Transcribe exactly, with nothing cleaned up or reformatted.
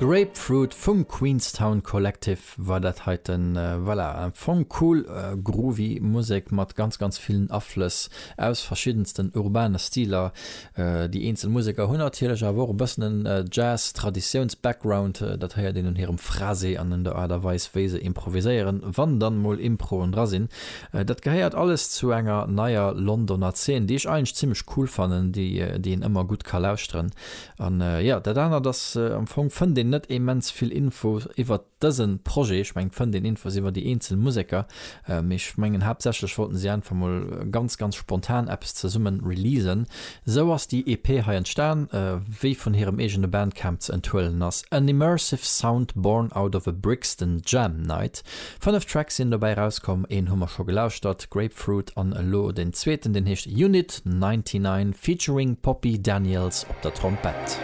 Grapefruit vum Queenstown Collective war dat heiten. Voilà, am Fong cool groovy Musek mat ganz ganz villen Aflëss aus verschiddensten urbane Stiler. Déi eenzel Museker hunn natierlech awer och e bëssen en Jazz-Traditiouns-Background, dat héiert een un hirem Phrasé an un der Aart a Weis wéi se improviséieren, wann dann mol Improen dra sinn. Dat gehéiert alles zu enger neier Londoner Zeen, déi ech eigentlech zimmlech cool fannen, déi déi een ëmmer gutt ka lauschteren. An jo, dat anert ass, am Fong fënnt een net immens vill Info iwwert dëse Projet. Ech mengen, et fënnt een Infos iwwer déi eenzel Museker, mee ech mengen haaptsächlech wollten si einfach mol ganz, ganz spontan eppes zesummen releasen. Sou ass déi EP hei entstan, wéi vun hirem eegene Bandcamp ze enthuelen ass, An immersive sound born out of a Brixton jam night. Fënnef Tracks sinn dobäi erauskomm, een hu mer scho gelauschtert, Grapefruit, an elo den zweeten, deen heescht Unit ninety-nine featuring Poppy Daniels op der Trompett.